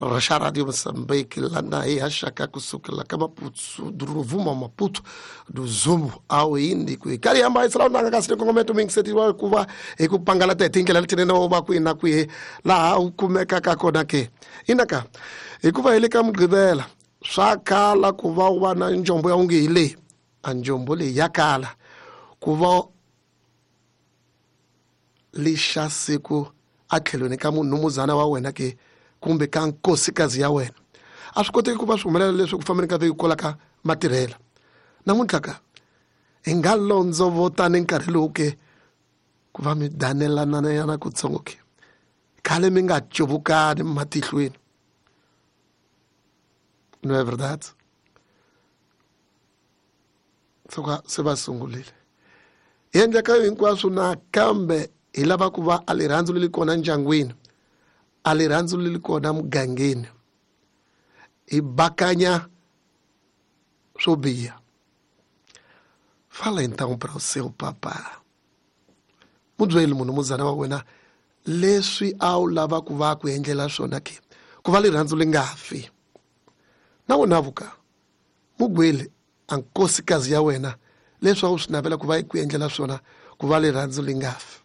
Xa Radio Moçambique lana hi haxaka kusukela ka Maputo Rovuma Maputo do Zumbo ao hindi ku hi karhi hamba hi sala nanga kasi kongometo mingisetiwa hikuva hi ku pangalata hi tindlela letinene wo va kwihi na kwihi laha u kumekaka kona ke inaka hikuva hi le ka Mugqivela swa kala ku va u va na njombo ya onge hi leyi a njombo leyi ya kala ku va lixa siku a tlhelweni ka munhumuzana wa wena ke kumbe ka nkosikazi ya wena a swi koteki ku va swi humelela leswi ku fambeni ka vhiki kwala ka matirhela namuntlha ka hi nga londzovotani nkarhi lowu ke ku va mi danelananyana kutsongo ke khale mi nga cuvukani matihlweni. Não é verdade? Suka se va sungurile hi endleka hinkwaswo nakambe hi lava ku va a rirhandzu leri kona ndyangwini a rirhandzu leri kona mugangeni hi bakanya swo biha. Fala então para o seu papá. Mubyeli munhu muzana wa wena leswi a wu lava ku va ku endlela swona ke ku va rirhandzu li nga fi na wena vuka mugweli a nkosikazi ya wena leswi a wu swi navela ku va ku endlela swona ku va rirhandzu li nga fi.